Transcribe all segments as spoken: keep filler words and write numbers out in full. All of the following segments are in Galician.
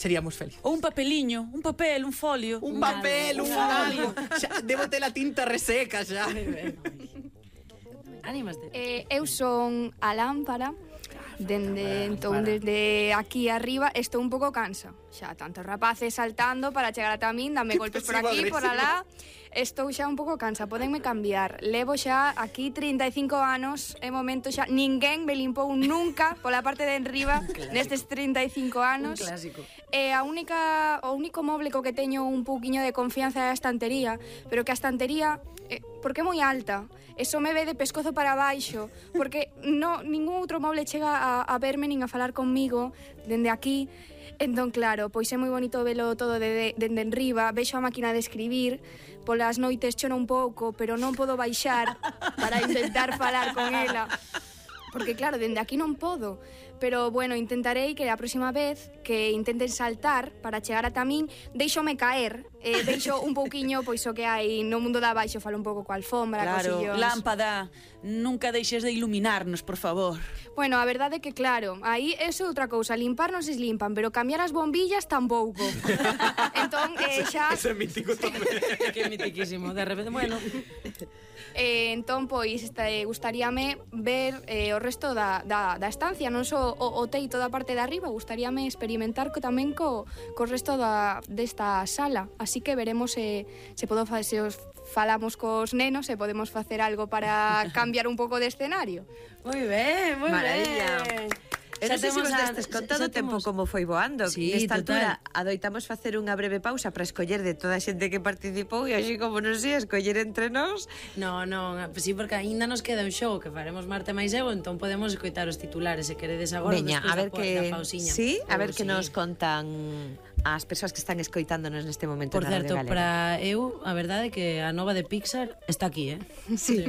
seríamos felices. Ou un papeliño, un papel, un folio. Un papel, un algo. Xa, debo ter a tinta reseca xa. Ánimas de... Eh, eu son a lámpara. Dende, entón, desde aquí arriba estou un pouco cansa. Xa tantos rapaces saltando para chegar ata min, dame golpes por aquí, por alá. Estou xa un pouco cansa, podenme cambiar. Levo xa aquí trinta e cinco anos, é momento xa, ninguén me limpou nunca pola parte de enriba nestes trinta e cinco anos. Un clásico. E a única, o único moble co que teño un pouquiño de confianza é a estantería, pero que a estantería, eh, porque é moi alta, eso me ve de pescozo para baixo, porque no, ningún outro moble chega a, a verme nin a falar conmigo dende aquí. Entón, claro, pois é moi bonito velo todo dende de, de enriba, vexo a máquina de escribir, polas noites choro un pouco, pero non podo baixar para intentar falar con ela. Porque claro, dende aquí non podo. Pero, bueno, intentarei que a próxima vez que intenten saltar para chegar ata min, deixome caer, eh, deixo un pouquiño, pois o que hai no mundo da baixo, falo un pouco coa alfombra, claro, cosillos. Lámpada, nunca deixes de iluminarnos, por favor. Bueno, a verdade é que, claro, aí eso é outra cousa, limpar non se limpan, pero cambiar as bombillas tampouco. Entón, eh, xa... Eso é mítico tamén. Que mitiquísimo, de repente, bueno... Eh, entón, pois, este, gustaríame ver eh, o resto da, da, da estancia, non só o, o teito da parte de arriba, gustaríame experimentar co, tamén co, co resto da, desta sala, así que veremos se, se, podo, se os falamos cos nenos, se podemos facer algo para cambiar un pouco de escenario. Moi ben, moi Maravilla. ben. Eu non sei se vos destes con todo o tempo como foi voando. Sí, nesta total. altura adoitamos facer unha breve pausa para escoller de toda a xente que participou e así como non sei, escoller entre nós. No, non, sí, porque aínda nos queda un xogo que faremos Marte máis eu, entón podemos escoitar os titulares se queredes agora. Veña, a ver da, que da pausiña. sí, a ver Oh, que sí. nos contan as persoas que están escoitándonos neste momento. Por na certo, Radio Galega. para eu, a verdade é que a nova de Pixar está aquí, eh? Sí.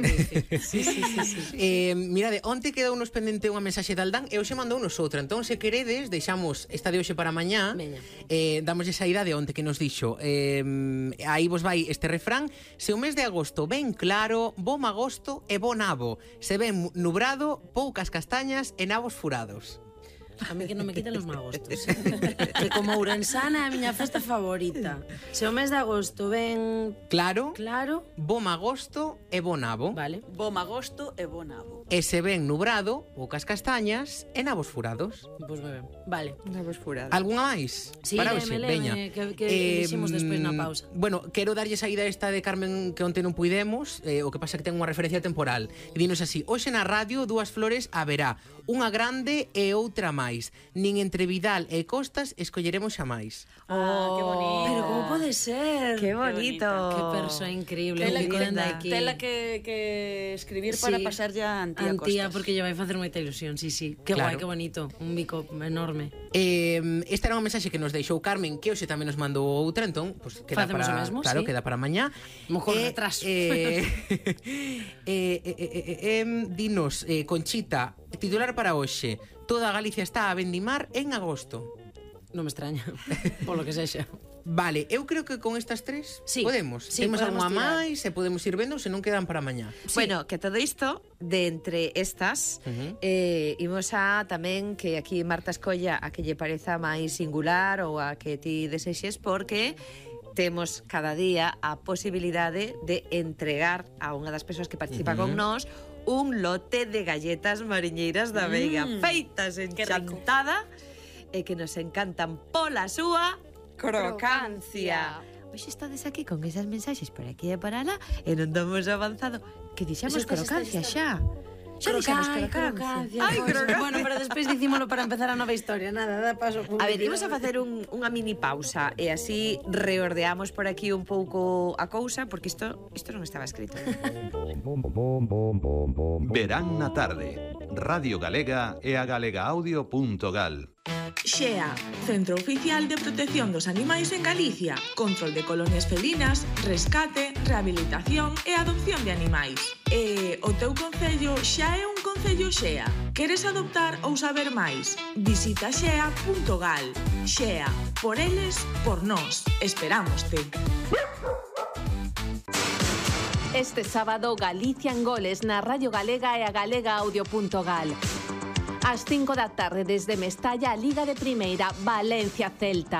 Sí, sí, sí, sí. Eh, mirade, onte quedou nos pendente unha mensaxe de Aldán e hoxe mandou nos outra. Entón, se queredes, deixamos esta de hoxe para mañá. Veña. Eh, damos esa idea de onte que nos dixo. Eh, aí vos vai este refrán. Se o mes de agosto ven claro, bo magosto e bo nabo. Se ven nubrado, poucas castañas e nabos furados. A mí que non me quiten os magostos. Que como ourensana é a miña festa favorita. Se o mes de agosto ven Claro, claro, bo magosto e bo nabo. vale. Bo magosto e bo nabo. E se ven nubrado, poucas castañas e nabos furados. Pois moi ben. Vale. Nabos furados. Algunha máis? Sí, para léeme, hoxe, léeme, veña. que- que dixemos despois na pausa. Bueno, quero darlle saída esta de Carmen que onte non puidemos, eh, o que pasa que ten unha referencia temporal. E dinos así: hoxe na radio dúas flores haberá, unha grande e outra máis. Nin entre Vidal e Costas escolleremos xamais. Ah, que bonito. Pero como pode ser? Qué bonito. Que persoa increíble. Tela un bico que, dende aquí. tela que, que escribir para Sí. pasar ya a Antía, Antía, Costas. porque lle vai facer moita ilusión, sí, sí. Que Claro. guai, que bonito. Un bico enorme. Eh, esta era unha mensaxe que nos deixou Carmen, que hoxe tamén nos mandou outra, entón, pues, queda Facemos para, o mesmo, claro, sí. queda para mañá. Mejor Eh, retraso. Eh, eh, eh, eh, eh, eh, dinos, eh, Conchita, titular para hoxe: toda Galicia está a vendimar en agosto. Non me extraña, polo que sexa. Vale, eu creo que con estas tres Sí, podemos. sí, Temos podemos algunha tirar. máis e podemos ir vendo, se non quedan para mañá. Bueno, que todo isto de entre estas Ujú. eh, imos a tamén que aquí Marta escolla a que lle pareza máis singular ou a que ti desexes, porque temos cada día a posibilidade de entregar a unha das persoas que participa Ujú. con nós un lote de galletas mariñeiras da Veiga, Mm, feitas en que rico. Chantada e que nos encantan pola súa crocancia. Hoxe estades aquí con esas mensaxes por aquí e por alá e non damos avanzado que dixemos Eso está, crocancia está, xa. Xa dixemos Ai, crocancia. Ai, crocancia. Bueno, pero despois dicímolo para empezar a nova historia. Nada, da paso. A ver, imos a facer un, unha mini pausa e así reordeamos por aquí un pouco a cousa, porque isto isto non estaba escrito. Verán na tarde. Radio Galega e a galegaaudio.gal. Xea, Centro Oficial de Protección dos Animais en Galicia. Control de colonias felinas, rescate, rehabilitación e adopción de animais. E o teu concello xa é un concello Xea. Queres adoptar ou saber máis? Visita xea punto gal. Xea, por eles, por nós. Esperámoste. Este sábado Galicia en goles na Radio Galega e a galegaaudio punto gal. Ás cinco da tarde desde Mestalla a Liga de Primeira Valencia-Celta.